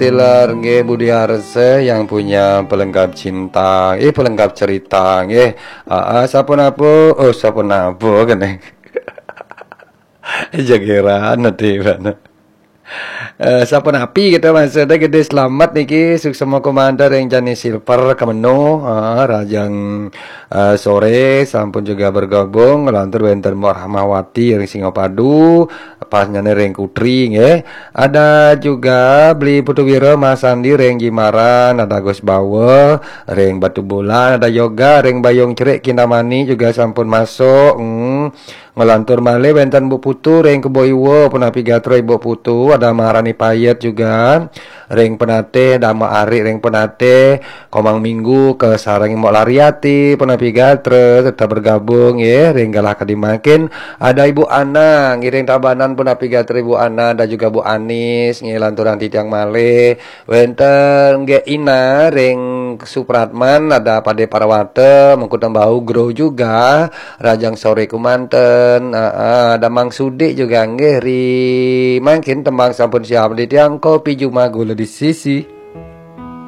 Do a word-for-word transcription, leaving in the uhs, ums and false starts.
Tiller nggih, Budi Arse yang punya pelengkap cinta, eh, pelengkap cerita nggih. Heeh, sapunapu, oh, sapunapu kene. Jageran nanti bana. Eh, sapunapi kita maksudnya gede selamat niki, suksema komandan ring jani silver kemeno, ah, rajang, eh, sore sampun juga bergabung, lantur wenten Mbok Rahmawati ring Singapadu, pas nyane ring Kutri nggih. Ada juga Beli Putu Wira Mas Andi ring Jimaran, ada Gus Bawa ring Batu Bulan, ada Yoga ring Bayung Cerik Kintamani juga sampun masuk. Hmm. Ngelantur malih wenten Bu Putu ring Kebo Iwa, punapi gatra Ibu Putu, ada Maharani Payet juga ring Penatih, ada Mak Ari ring Penatih, Komang Minggu ke sareng Mbok Lariati, punapi gatra tetap bergabung ya ring galah kadi mangkin. Ada Ibu Ana ngiring Tabanan, punapi gatra Ibu Ana, ada juga Bu Anis ngelanturang titiang malih. Wenten nggih Ina ring Supratman, ada Pade Parwata, Mengku Tembau Gro juga, Rajang Sore Kumanten, ah, ah, ada Mang Sudik juga nggih ri. Mangkin tembang sampun siap di tiang, kopi jumah gula di sisi.